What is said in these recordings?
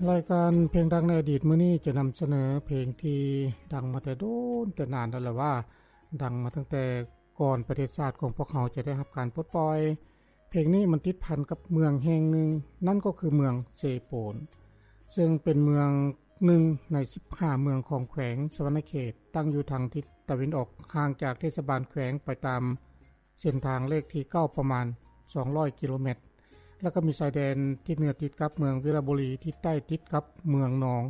ລາຍການເພງດັງໃນອະດີດມື້ນີ້ຈະນຳສະເໜີເພງທີ່ດັງມາແຕ່ໂດນແຕ່ນານແລ້ວລະວ່າ ດັງມາຕັ້ງແຕ່ກ່ອນປະເທດຊາດຂອງພວກເຮົາຈະໄດ້ຮັບການປົດປ່ອຍ. ເພງນີ້ມັນຕິດພັນກັບເມືອງແຫ່ງໜຶ່ງ, ນັ້ນກໍຄືເມືອງເຊໂປນ, ເຊິ່ງເປັນເມືອງໜຶ່ງໃນສິບຫ້າເມືອງຂອງແຂວງສະຫວັນນະເຂດ, ຕັ້ງຢູ່ທາງທິດຕາເວັນອອກ, ຫ່າງຈາກເທດສະບານແຂວງໄປຕາມ ເສັ້ນທາງເລກທີເກົ້າປະມານສອງຮ້ອຍກິໂລແມັດ ແລ້ວກໍມີຊາຍແດນທິດເໜືອຕິດກັບເມືອງວິລະບູລີ, ທິດໃຕ້ຕິດກັບເມືອງນອງ,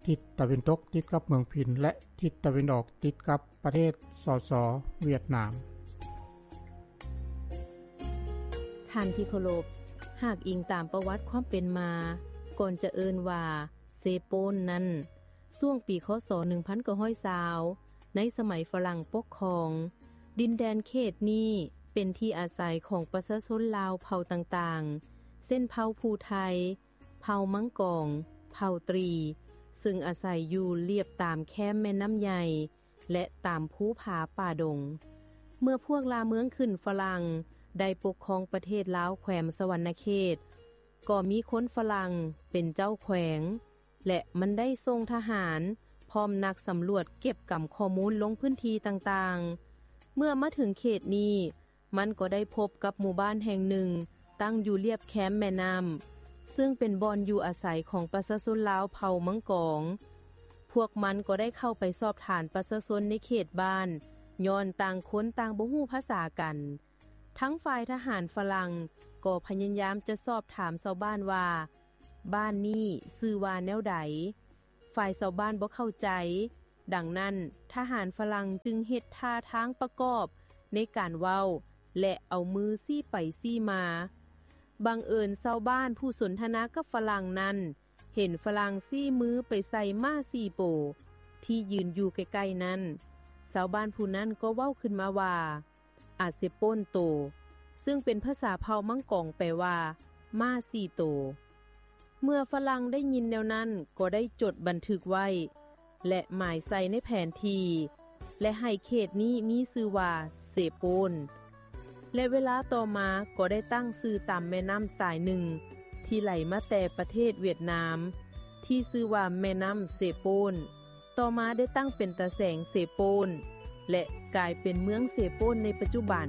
ທິດຕາເວັນຕົກຕິດກັບເມືອງພິນ ແລະ ທິດຕາເວັນອອກຕິດກັບປະເທດ ສສ ຫວຽດນາມ. ທ່ານທີ່ເຄົາລົບ, ຫາກອີງຕາມປະຫວັດຄວາມເປັນມາ, ກ່ອນຈະເອີ້ນວ່າເຊໂປນນັ້ນ, ຊ່ວງປີ ຄ.ສ. ໜຶ່ງພັນເກົ້າຮ້ອຍຊາວ ໃນສະໄໝຝຣັ່ງປົກຄອງ, ດິນແດນເຂດນີ້ເປັນທີ່ອາໄສຂອງປະຊາຊົນລາວເຜົ່າຕ່າງໆ ເຊັ່ນ ເຜົ່າພູໄທ, ເຜົ່າມັງກອງ, ເຜົ່າຕຣີ, ເຊິ່ງອາໄສຢູ່ລຽບຕາມແຄມແມ່ນ້ຳໃຫຍ່ ແລະ ຕາມພູຜາປ່າດົງ. ເມື່ອພວກລ່າເມືອງຂຶ້ນຝຣັ່ງໄດ້ປົກຄອງປະເທດລາວແຂວງສະຫວັນນະເຂດ, ກໍມີຄົນຝຣັ່ງເປັນເຈົ້າແຂວງ ແລະ ມັນໄດ້ສົ່ງທະຫານພ້ອມນັກສຳຫຼວດເກັບກຳຂໍ້ມູນລົງພື້ນທີ່ຕ່າງໆ. ເມື່ອມາເຖິງເຂດນີ້, ມັນກໍໄດ້ພົບກັບໝູ່ບ້ານແຫ່ງໜຶ່ງຕັ້ງຢູ່ລຽບແຄມແມ່ນ້ຳ, ເຊິ່ງເປັນບ່ອນຢູ່ອາໄສຂອງປະຊາຊົນລາວເຜົ່າມັງກອງ. ພວກມັນກໍໄດ້ເຂົ້າໄປສອບຖາມປະຊາຊົນໃນເຂດບ້ານ, ຍ້ອນຕ່າງຄົນຕ່າງບໍ່ຮູ້ພາສາກັນ. ທັງຝ່າຍທະຫານຝຣັ່ງກໍພະຍາຍາມຈະສອບຖາມຊາວບ້ານວ່າ ບ້ານນີ້ຊື່ວ່າແນວໃດ? ຝ່າຍຊາວບ້ານບໍ່ເຂົ້າໃຈ, ດັ່ງນັ້ນ ທະຫານຝຣັ່ງຈຶ່ງເຮັດທ່າທາງປະກອບໃນການເວົ້າ ແລະ ເອົາມືຊີ້ໄປຊີ້ມາ. ບັງເອີນຊາວບ້ານຜູ້ສົນທະນາກັບຝຣັ່ງນັ້ນ ເຫັນຝຣັ່ງຊີ້ມືໄປໃສ່ມ້າສີ່ໂປທີ່ຢືນຢູ່ໃກ້ໆນັ້ນ. ຊາວບ້ານຜູ້ນັ້ນກໍເວົ້າຂຶ້ນມາວ່າ ອາເຊໂປນໂຕ, ເຊິ່ງເປັນພາສາເຜົ່າມັງກອງແປວ່າ ມ້າສີ່ໂຕ. ເມື່ອຝຣັ່ງໄດ້ຍິນແນວນັ້ນ ກໍໄດ້ຈົດບັນທຶກໄວ້ ແລະ ໝາຍໃສ່ໃນແຜນທີ່ ແລະ ໃຫ້ເຂດນີ້ມີຊື່ວ່າເຊໂປນ ແລະ ເວລາຕໍ່ມາກໍໄດ້ຕັ້ງຊື່ຕາມແມ່ນ້ຳສາຍໜຶ່ງທີ່ໄຫຼມາແຕ່ປະເທດຫວຽດນາມ ທີ່ຊື່ວ່າແມ່ນ້ຳເຊໂປນ. ຕໍ່ມາໄດ້ຕັ້ງເປັນຕາແສງເຊໂປນ ແລະ ກາຍເປັນເມືອງເຊໂປນໃນປັດຈຸບັນ.